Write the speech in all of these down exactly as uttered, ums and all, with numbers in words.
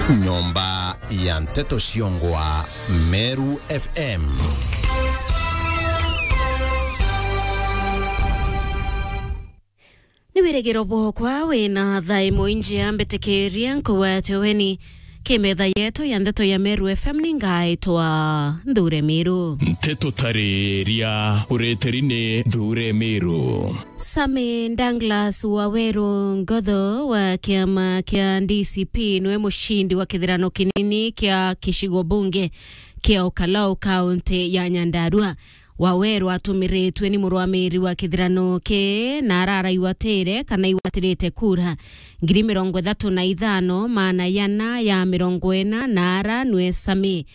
Nyomba ya nteto ciongwa Meru F M. Ni wirigiro bwokwa wina thaa imwe injia mbitikirie nkugwate weni ki metha yetu ya nteto ya Meru F M, ni ngaitwa Nthure Miru. Nteto tariria ureteri ni Nthure Miru. Sammy Douglas Waweru Ngotho wa kiama kia D C P niwe mucindi wa kithirano kinini kia gicigo bunge kia Ukalau, kaunti ya Nyandarua. Waweru atumiritwe ni murwamiri wa kithirano ki na araraigwatire kana igwatirite kura ngiri mirongo ithatu na ithano, maana yana ya mirongo ina, na ara nwe Sammy,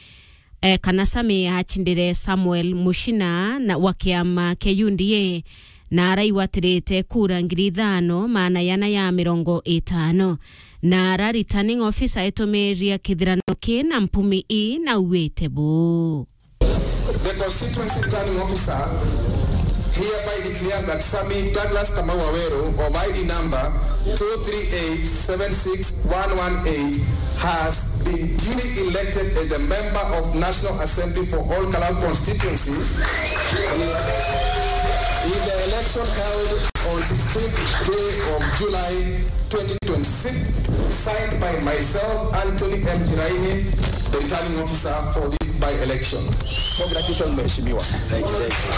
eh, kana Sammy achindire Samuel Muchina na wa kiama kia U D A, na araigwatirite kura ngiri ithano, maana yana ya mirongo itano. Na ara returning officer itumiria kithirano ki na mpumi ii na auite buu. The constituency returning officer hereby declares that Sammy Douglas Kamau Waweru of I D number two three eight seven six one one eight has been duly elected as the member of National Assembly for Ol Kalou constituency with the election held on sixteenth day of July twenty twenty-six, signed by myself, Anthony M Kiraini, the returning officer for this by-election. Congratulations, Mheshimiwa. Thank you, thank you.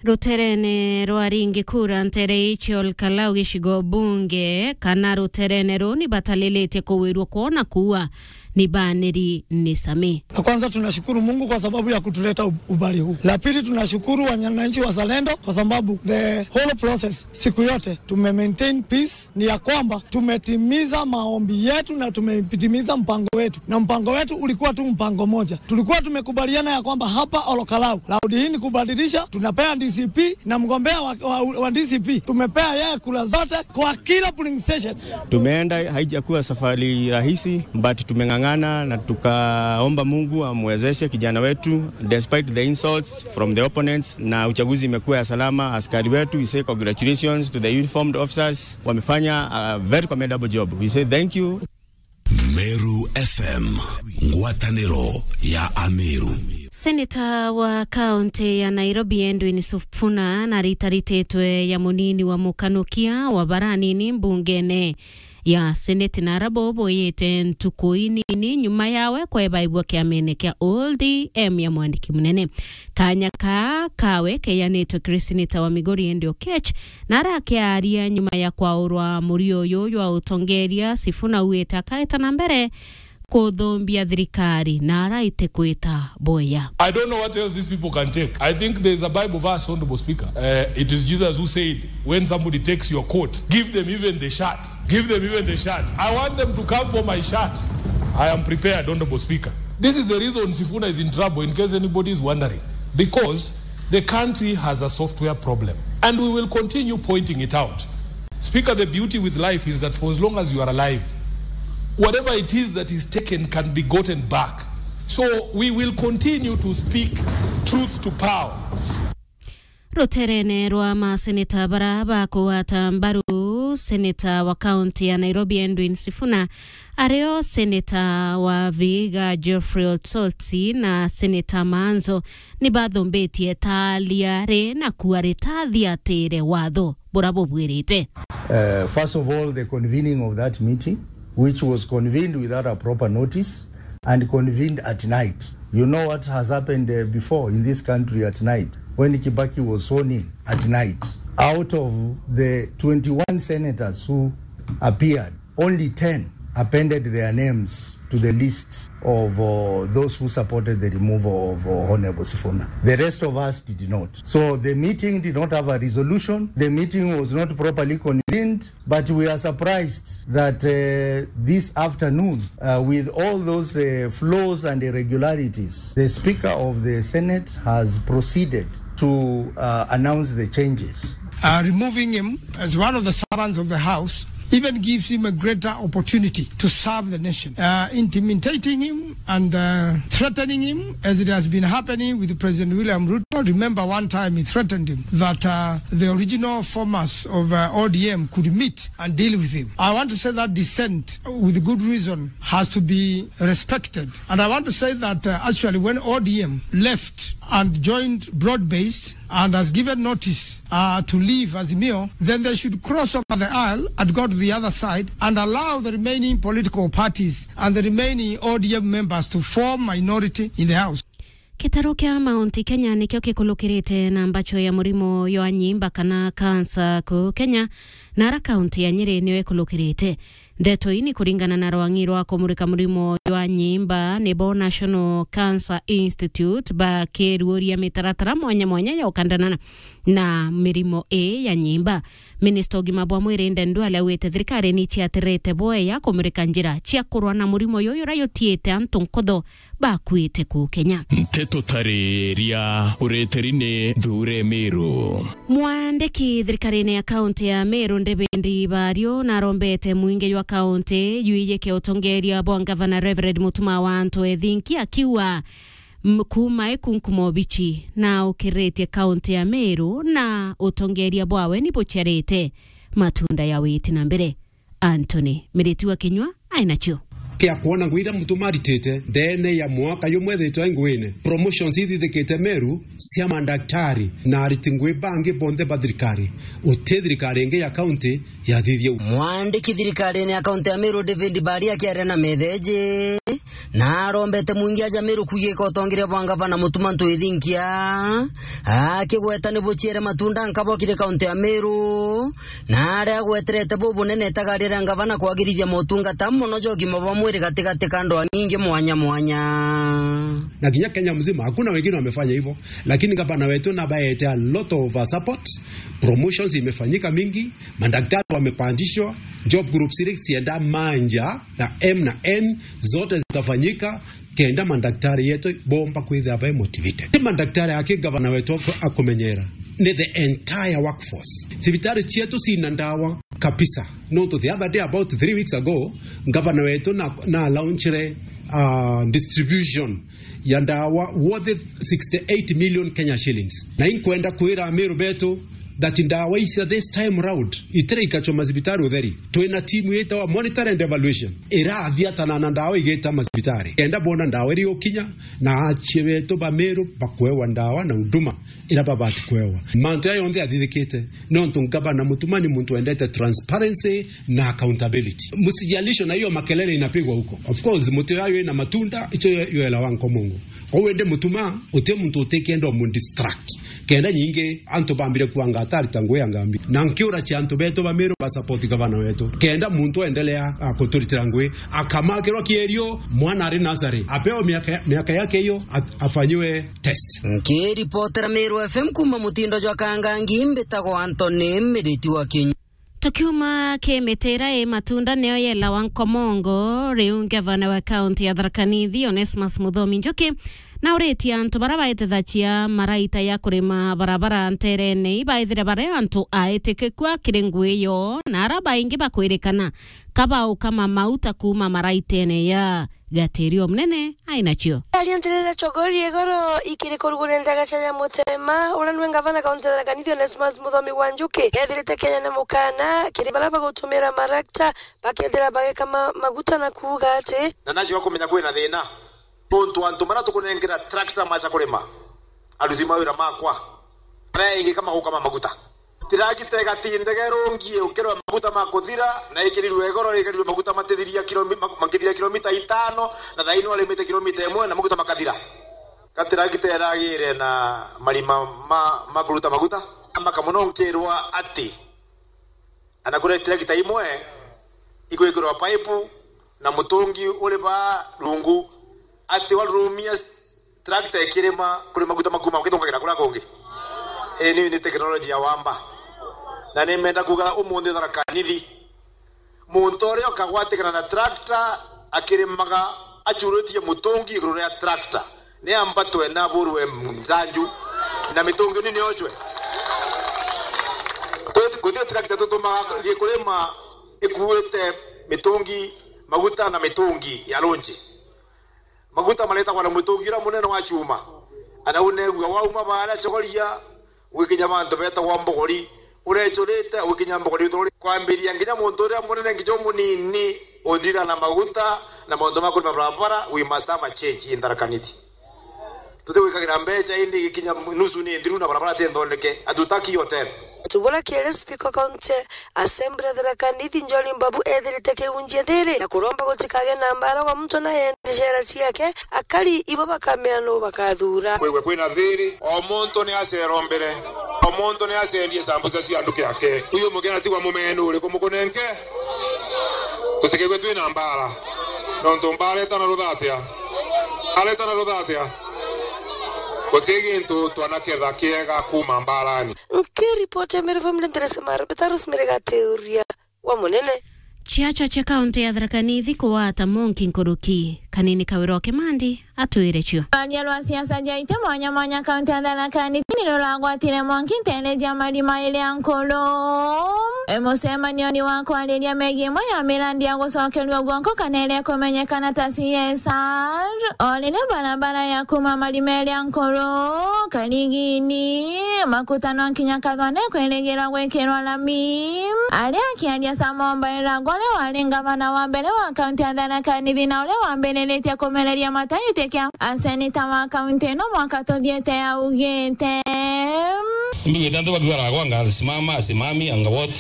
Ruterene rwa ringi kura ntere icio Ol Kalou gicigo bunge kana ruterene ruu ni batalilitie kuwirwa kwona kuua ni baniri ni Sammy. La kwanza, tunashukuru Mungu kwa sababu ya kutuleta u-, umbali huu. La pili, tunashukuru wananchi wazalendo kwa sababu the whole process, siku yote tume maintain peace, ni ya kwamba tumetimiza maombi yetu na tumetimiza mpango wetu, na mpango wetu ulikuwa tu mpango moja. Tulikuwa tumekubaliana ya kwamba hapa Ol Kalou, raundi hii ni kubadilisha, tunapea D C P na mgombea wa, wa, wa D C P, tumepea yeye kura zote kwa kila polling station. Tumeenda, haijakuwa safari rahisi, but tumeng'ang'ana na tukaomba Mungu amwezeshe kijana wetu despite the insults from the opponents, na uchaguzi imekuwa ya salama. Askari wetu, we say congratulations to the uniformed officers, wamefanya a very commendable job. We say thank you. Meru F M, ngwataniro ya Ameru. Seneta wa kaunti ya Nairobi Edwin Sifuna naritarititwe ya munini wa mukanukia wa bara anini mbungene ya Senate, na ara bo boyite ntuku inini nyuma yawe kwebaibwa kiamene kia O D M ya mwandiki munene. Kanya kaa kawe keyanitwe kiri seneta wa Migori Andy Oketch, na arakiaria nyuma ya kwaurwa murio uyu jwa utongeria, Sifuna auite akaeta na mbere kuthumbia thirikari na araite kwita boya. I don't know what else these people can take. I think there is a Bible verse, Honorable Speaker. Uh, it is Jesus who said, "When somebody takes your coat, give them even the shirt. Give them even the shirt." I want them to come for my shirt. I am prepared, Honorable Speaker. This is the reason Sifuna is in trouble, in case anybody is wondering. Because the country has a software problem. And we will continue pointing it out. Speaker, the beauty with life is that for as long as you are alive, whatever it is that is taken can be gotten back. So we will continue to speak truth to power. Ruterene rwa maseneta bara bakugwata mbaru, seneta wa kaunti ya Nairobi Edwin Sifuna, ario seneta wa Vihiga Geoffrey Osotsi na seneta Maanzo ni bathumbitie talia ri na kuuga ritathiatire watho bura bubwirite. Uh, first of all, the convening of that meeting, which was convened without a proper notice and convened at night. You know what has happened, uh, before in this country at night, when Kibaki was sworn in at night. Out of the twenty-one senators who appeared, only ten appended their names to the list of, uh, those who supported the removal of, uh, Honorable Sifuna. The rest of us did not. So the meeting did not have a resolution. The meeting was not properly convened, but we are surprised that, uh, this afternoon, uh, with all those, uh, flaws and irregularities, the Speaker of the Senate has proceeded to, uh, announce the changes. Uh, removing him as one of the servants of the House even gives him a greater opportunity to serve the nation. Uh, intimidating him and, uh, threatening him, as it has been happening with President William Ruto. Remember, one time he threatened him that, uh, the original formers of, uh, O D M could meet and deal with him. I want to say that dissent, with good reason, has to be respected. And I want to say that, uh, actually, when O D M left and joined broad-based and has given notice, uh, to leave Azimio, then they should cross over the aisle and go to the other side and allow the remaining political parties and the remaining O D M members to form minority in the House. Gitaru kia Mount Kenya nikio gikulukirite na mbacho ya murimo jwa nyimba kana cancer ku Kenya, na ara kaunti ya Nyeri niyo ikulukirite. Ndeto ii ni kuringana na rwang'i rwa kumurika murimo jwa nyimba, nibo National Cancer Institute, bakiruuria mitaratara mwanya mwanya ya ukandanana na mirimo ii ya nyimba. Minista ugima bwa mwiri Aden Duale augite thirikari ni iciatirite bwega kumurika njira cia kurwa na murimo juju uria jutiite antu nkutho bakuite ku Kenya. Nteto tariria ureteri ni Thuure Miru. Mwandiki thirikarine ya kaunti ya Meru, David Bario, narombete mwingi jwa kaunti jwijike utongeria bwa ngavana Reverend Mutuma wa Antu Ethinki, akiuga, m-, kuuma ikunkumo bichi na ukiritie kaunti ya Meru na utongeria bwawe ni buciarite matunda ya witi na mbere. Anthony Miriti wa Kinyua ainacio. Kia kwona ngugi iria Mutuma aritite ndeene ya mwaka jumwe ethitwe ai nguine. Promotions ithithikite Meru cia mandaktari na ariti ngugi bangi bonthe ba thirikari. Uti thirikari ingi ya kaunti yathithia u. Mwandiki thirikarine ya kaunti ya Meru, David Baria, akiaria na metheji, na arombete mwingi aja Meru kwijika utongeria bwa ngavana Mutuma Antu Ethinki, akigweta ni buciere matunda nkabo kiri kaunti ya Meru, na aria agweterete bubunene itagaria ria ngavana kwagirithia motungata mono ja ugima bwa mwiri gatigati ka ndwang'i ingi mwanya mwanya. Na kinya Kenya mzima, hakuna wengine wamefanya hivyo, lakini gavana wetu nabaete a lot of, uh, support, promotions imefanyika mingi, madaktari wamepandishwa, job groups ile zienda manja na M na N, zote zitafanyika, kenda mandaktari yetu bomba kwithira bai motivated. Ti mandaktari aki gavana wetu aku-, akumenyera, ni the entire workforce. Cibitari cietu cina ndawa kabisa, nontu the other day, about three weeks ago, gavana wetu na, na launchire, uh, distribution ya ndawa worth sixty-eight million Kenya shillings. Na inkwenda kwira Amiru betu, that ndawa icio this time round itire ikachwa macibitari utheri. Twina timu yitawa Monitor and Evaluation irathiatana na ndawa igita macibitari, kenda bona ndawa iri ukinya na achie betu ba Meru bakwewa ndawa na huduma ira babati kwewa. Mantu aya yonthe athithikite nontu ngavana Mutuma ni muntu wendete transparency na accountability. Msijalisho na hiyo makelele inapigwa huko. Of course, muti uyu ina matunda, icho yo, yoela wa nkomongo. Kwou indi Mutuma, uti muntu utikenda umu distract. Kenda nyingi antu bambire kuanga atari ta ngui ya ngambi. Na nkiura cia antu betu ba Meru ba support gavana wetu. Kenda muntu endelea, a, kuturitira ngui, akamakirwa kierio, mwana ari nasari. Apewe miaka, miaka yake hiyo, at-, afanyiwe test. Nkiripotera Meru F M kuuma mutindo jwa Kangangi, mbitagwa Anthony Miriti wa Kinyua. Tukiuma kimitira i matunda niyo yelawa nkomongo, riu ngavana wa kaunti ya Tharaka Nithi, Onesmus Muthomi Njuki, na uritie antu bara baitithagia maraita ya kurima barabara nterene ibaithire bari antu aitikiku akiri ngui yo, na ara baingi bakwirikana ka baukama mauta kuuma maraitene ya Gatirio Munene ainacio. Aria ntirira chogori igoro ikiri kurugure ndagacha ya Mutema, uria nwe ngavana kaunti ya Tharaka Nithi Onesmus Muthomi wa Njuki, ethirite Kenya na mukana kiri bara bagutumira marakta bakethira bageka ma-, maguta na kuuga ati. Na nacio kumenya kwina thina. Nontu antu bara tukunengera tractor macha kurima, aruti mawira makwa, bara ingi kama gukama maguta. Tirakita igatindega irungie ukirwa maguta ma kuthira, na ikirirwe igoro, ikirirwe maguta matithiria kilomi-, ma-, makithira kilomita itano, na thaino arimite kilomita imwe, na maguta makathira. Ka tirakita iragire na marima ma, ma kuruta maguta, maka muno nkirwa ati, ana kuria tirakita imwe igwikirwa paipu, na mutungi uri ba rungu, ati warurumia tractor ikirima kuri maguta makuma ukithongagira kuria kungi. Ii ni, ni technology ya wamba. Na nimenda kuga umunthi Tharaka Nithi, muntu uria ukagwatikana na tractor akirimaga achuritie mutungi iguru ria tractor, ni ambatwe na aburwe njanju, na mitungi ni niochwe. Twi-, guti tractor tutumaga gikurima Ikuite mitungi, maguta na mitungi ya lunji. Maguta maretagwa na mutungi uria munene wa chuma. Ana unegua wauma baria Chogoria, wikinya bantu betagwa Mbogori, urechurite, wikinya Mbogori, kwambiria nginya muntu uria munene nginya umunini, uthira na maguta na maundu ma kurima barabara, we must have a change in Tharaka Nithi. Tutigwikagira mbeca indi igikinya nusu ni nthiru na barabara ti nthondeke. Hatutaki hiyo tena. Tubura kiri Speaker County Assembly Tharaka Nithi Njori Mbabu ethirite kiunjia thiri na kuromba gutikage na mbara gwa muntu na yende cera ciake, akari ibo bakamea nu bakathura. Kwigwe kwina thiri, o muntu ni acero mbere, o muntu ni acendie sambusa cia nduki yake. Uyu mugeni atigwa mumenu uriku mukunenke? Tutikigwe twina mbara. Nontu mbara itana ruthatia. Mbara itana ruthatia. Guti gintu twanaketha kiega kuma mbarani. Nkiripoti ya Meru F M, Nderese Mara, Peter Rosemary Gatiuria wa Munene. Ciacho cia kaunti ya Tharaka Nithi kuwata monki nkuruki. Kanini Kawira o Kimandi atwire cio. Rwaria rwa siasa jaite mwanya mwanya kaunti ya Tharaka Nithi ni ruragwatire mwanki nteere ja mari mairi a nkuru. E, mucemanioni wa kwariria megii imwe ya mirandi ya gucokerua guoko kana iria ikumenyekana ta C S R, o riria barabara ya kuma mari mairi a nkuru, Karigini, Makutano nkinya Kathone kwirigirwa gwikirwa lami. Aria akiaria Samuel Mbairagwa, uria wari ngavana wa mbere wa kaunti ya Tharaka Nithi na uria wambiriritie kumereria matagiti kia aseneta wa kaunti ino mwaka tuthiite, augite, mbigwite antu bakiuga Ragwa anga simama, simami, anga what?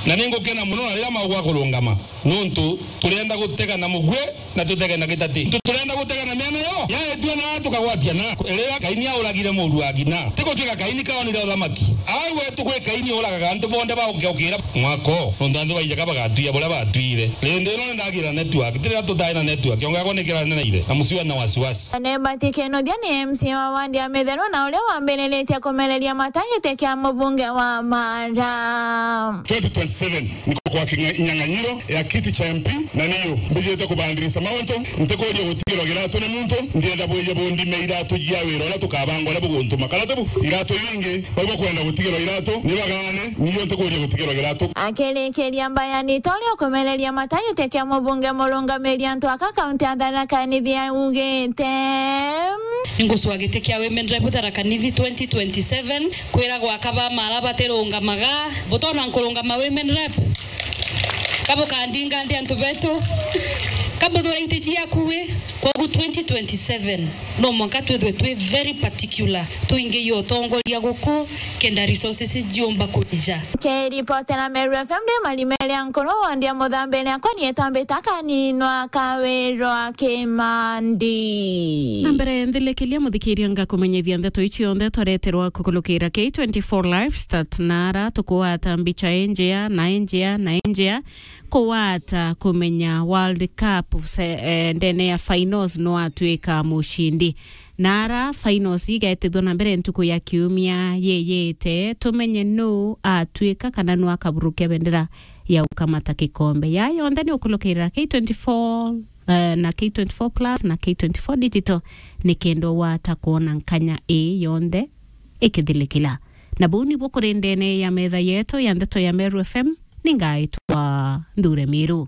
Na ningukena muno na riria maugwa kurungama, nontu turienda gutega na mugwe na tutege na gitati. Tu-, turenda gutega na miano yo. Yaetua na tukagwatia na. Riria Kaini auragire muru wa ngina, ti gutwika Kaini kaonire uthamaki. Au wetu gwi Kaini uragaga antu bonthe baukira mwako. Nontu antu baijaka bagatwia buria batwire. Rindi ino ni ndagira network. Ti riria tutai na network. Kiongo yakwa ni kiraneneire. Na musiwa na wasiwasi. Nebati Kinuthia ni M C A wa wandi ya Mitheru na uria wambiriritie kumereria matagiti kia mubunge wa Mara. Twenty twenty-seven. Niko kwa kinya-, kinyang'anyiro ya kiti cha M P, na niyo mbijite kubandirica mauntu, ntikuuria gutigirwa giratu ni muntu, ndienda bwije bundime iratu jia wira uria tukabanga uria buguntuma. Kana tibu? Iratu ingi, bau bakwenda gutigirwa iratu, ni bagaane, niyo ntikuuria gutigirwa giratu. Akirikiria mbayani, Tore ukumereria matagiti kia mubunge murungamiri antu aka kaunti ya Tharaka Nithi augite, ningucua giti kia Women Rep Tharaka Nithi twenty twenty-seven. Kwiragwa aka ba Mara batirungamaga, butona nkurungama women rep? Ka bukandinga ndi antu betu? Ka buthura iti ciaku wi? Kwogu twenty twenty-seven, no mwanka twithwe twi very particular, tuingiie utongoria guku, kenda resources ciumba kuija. Kiripotera Meru F M ndi Marimere Nkuru, wandi ya Muthambire, akwa nietwa Mbita Kaninwa Kawirwa Kimandi. Na mbere nthilikiria muthikiria, ngakumenyithia ndeto ici cionthe twareterwa kukulukira K twenty-four Live Start, na ara tukuwata mbicha injea na injea na injea, kuwata kumenya World Cup se-, eh, ndene ya finals no atwika mucindi. Na ara finals igetithwa na mbere ntuku ya kiumia yiyite, tumenye nu atwika kana nu akaburukia bendera ya gukamata gikombe. Ya yonthe ni ukulukirira K twenty-four, eh, na K twenty-four Plus na K twenty-four Digital, ni kenda wata kwona nkanya ii yonthe ikithilikila. Na buu nibuo kuri ndene ya metha yetu ya ndeto ya Meru F M, ni ngaitwa Nthure Miru.